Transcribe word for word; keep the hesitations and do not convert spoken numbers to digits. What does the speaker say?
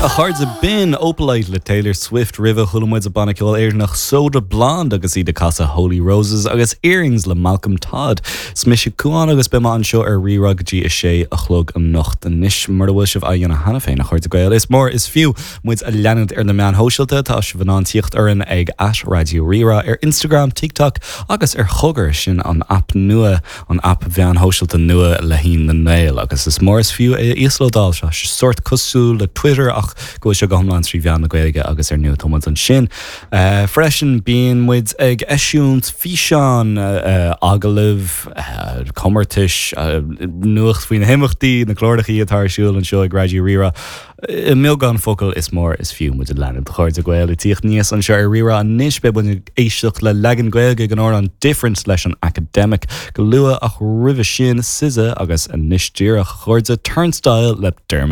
A chairde b'in Opalite le Taylor Swift roimhe chuala muid an banna ceoil Éireannach Soda Blonde agus iad ag casadh Holy Roses agus Earrings le Malcolm Todd. Is mise Cuán agus beidh mé anseo ar Rí-Rá go dtí a sé a chlog anocht anois mar a bhfuil sibh á dhéanamh cheana féin a chairde Gael. Is mór is fiú muid a leanúint ar na meáin shóisialta tá sibh in ann tíocht orainn ag at Raidió Rí-Rá ar Instagram, TikTok agus ar Chogar sin an app nua an app mheáin shóisialta nua le haghaidh na nGael agus is mór is fiú é íoslódáil seo sórt cosúil le Twitter ach go bhfuil sé go hiomlán trí mheán na Gaeilge agus ar ndóigh tá muid ansin. Uh, freisin bíonn muid ag eisiúint físeán uh, agallaimh uh, comórtais uh, nuacht faoi na himeachtaí na cláracha atá ar siúl anseo ag Raidió Rí-Rá. I mbeagán focal is mór is fiú muid a leanúint a chairde Gael ag tíocht aníos anseo ar Rí-Rá anois beidh muid ag éisteacht le leagan Gaeilge den amhrán Different leis an Academic go luath ach roimhe sin SZA agus anois díreach a chairde Turnstile le Dermot